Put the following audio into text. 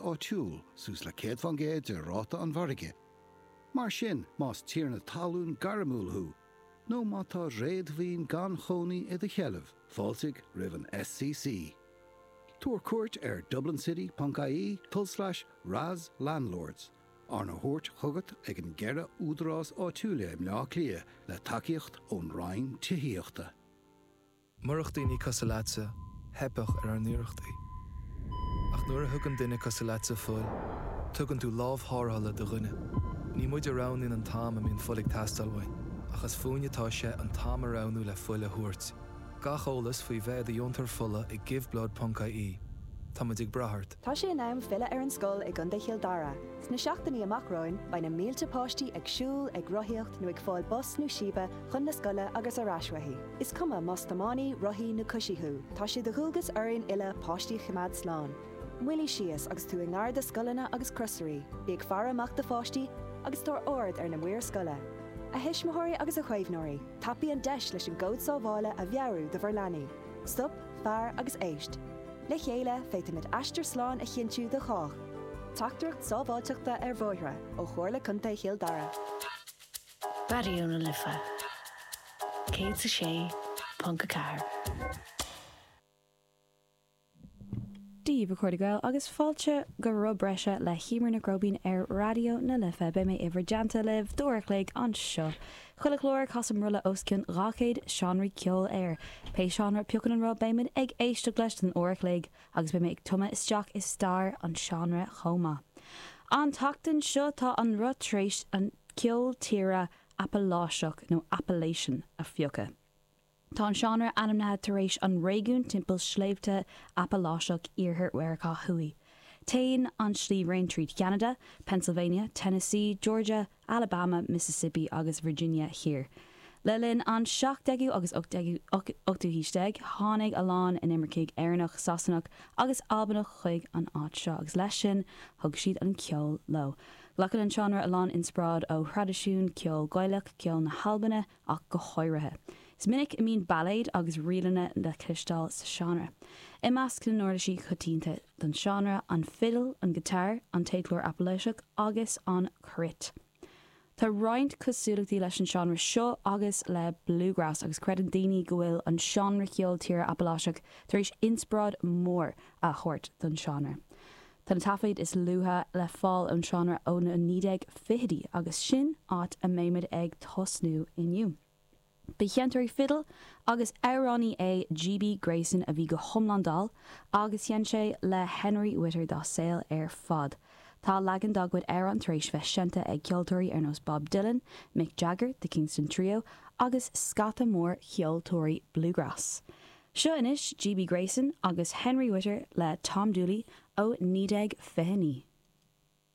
Áitiúil, suas le 100% de ráta an mhargaidh. Mar sin, más tiarna talún gairmiúil thú, nó má tá réadmhaoin gan chónaí i do sheilbh, fáiltigh roimh an SCC. Tabhair cuairt ar dublincity.ie tulslais RASLandlords, arna thabhairt chugat ag an gceithre údarás áitiúla i mBleá Cliath le tacaíocht ón Roinn Tithíochta. Murach daoine cosúil leatsa, theipfeadh ar ár n-iarrachtaí. Ach nuair a thugann duine cosúil leatsa fuil, tugann tú lámh tharrthála do dhuine. Ní muid a roghnaíonn an t-am a mbíonn fuil ag teastáil uainn, ach is fúinn atá sé an t-am a roghnú le fuil a thabhairt. Gach eolas faoi bheith i do dheontóir fola ag giveblood.ie. Tá muid ag brath ort. Tá sé in am filleadh ar an scoil i gContae Chill Dara. Sna seachtainí amach romhainn, beidh na mílte páistí ag siúl, ag rothaíocht nó ag fáil bus nó síbe chun na scoile agus ar ais uaithi. Is cuma más tiománaí, rothaí nó coisí thú, tá sé de dhualgas orainn uile páistí a choimeád slán. Moilligh síos agus tú i ngar do scoileanna agus crosairí, bí ag faire amach do pháistí agus tabhair aird ar na maoir scoile. A thuismitheoirí agus a chaomhnóirí, tapaigh an deis leis an gcód sábhála a mheabhrú do bhur leanaí. Stop, faire agus éist. Le chéile, féadfaimid aistear slán a chinntiú do chách. Teachtaireacht sábháilteachta ar bhóithre ó Chomhairle Contae Chill Dara. Raidió na Life 106.4. Dia daoibh a chairde Gael agus fáilte go Roth Breise le hEmer Nic Róibín ar Raidió na Life. Beidh mé i bhur dteannta libh d'uair a chloig anseo. Chuile chlár, casaim rolla os cionn 200 seánraí ceoil air. Pé seánra a phiocann an roth beimid ag éisteacht leis don uair a chloig agus beidh mé ag tumadh isteach i stair an seánra chomh maith. An tseachtain seo tá an roth tar éis an ceol tíre Apaláiseach nó Appalachian a phiocadh. Tá an seánra ainmnithe tar éis an réigiún timpeall Sléibhte Apaláiseach Iarthar Mheiriceá Thuaidh. Téann an sliabhraon tríd Cheanada, Pennsylvania, Tennessee, Georgia, Alabama, Mississippi agus Virginia Thiar. Le linn an 17ú agus 18ú haois déag, tháinig a lán inimircigh Éireannach, Sasanach agus Albanach chuig an áit seo agus leis sin thug siad an ceol leo. Glacann an seánra a lán inspioráid ó thraidisiún ceoil Gaelach, ceol na hAlbana, ach go háirithe. Is minic a mbíonn bailéid agus ríleanna le cloisteáil sa seánra. I measc na n-uirlisí coitianta don seánra, an fidil, an giotár, an téadchlár Apaláiseach agus an cruit. Tá roinnt cosúlachtaí leis an seánra seo agus le bluegrass agus creideann daoine go bhfuil an seánra ceoil tíre Apaláiseach tar éis inspioráid mhór a thabhairt don seánra. Tá na taifid is luaithe le fáil ón seánra ó na 1920idí agus sin áit a mbeimid ag tosnú inniu. Ba sheinnteoir fidil agus amhránaí é GB Grayson a bhí go hiomlán dall agus sheinn sé le Henry Whitter dá saol ar fad. Tá leagan dá gcuid amhrán tar éis bheith seinnte ag ceoltóirí ar nós Bob Dylan, Mick Jagger, The Kingston Trio agus scata mór cheoltóirí bluegrass. Seo anois GB Grayson agus Henry Whitter le Tom Dooley ó 1929.